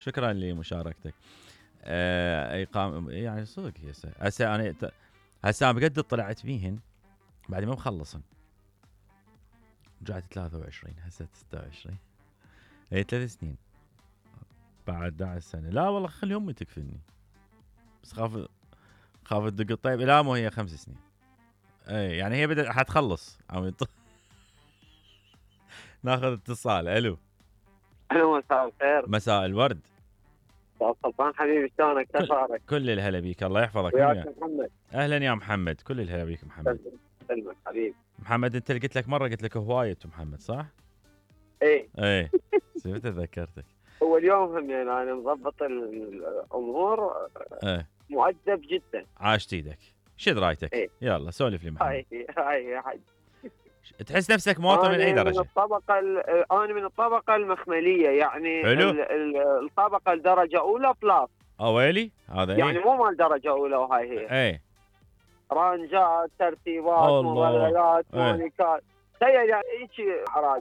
شكرا لمشاركتك. يعني صدق هسه انا بقد طلعت بيهن بعد ما مخلصن، رجعت 23 هسه 26 هي 3 سنين بعد 11 سنه. لا والله خلي امي تكفلني، بس خاف تدق الطيب. لا مو هي 5 سنين. اي يعني هي بدأت حتخلص. ناخذ اتصال. الو مساء الخير. مساء الورد. سلطان حبيبي شلونك؟ كيف حالك؟ كل الهلا بيك، الله يحفظك. وياك محمد. اهلا يا محمد، كل الهلا بيك محمد. سلمك حبيبي محمد. انت قلت لك مره، قلت لك هوايه محمد صح؟ ايه تذكرتك. هو اليوم هم يعني انا مضبط الامور. مؤدب جدا. عاشت ايدك. شد رايتك. يلا سولف لي محمد. هاي يا حج. تحس نفسك مواطن من اي درجه؟ انا من الطبقه المخمليه، يعني حلو. الطبقه الدرجه اولى بلاس. ويلي هذا يعني مو مال درجه اولى، وهاي هي رانجات، ترتيبات، مظللات، مونيكات. تخيل يعني هيك حراج.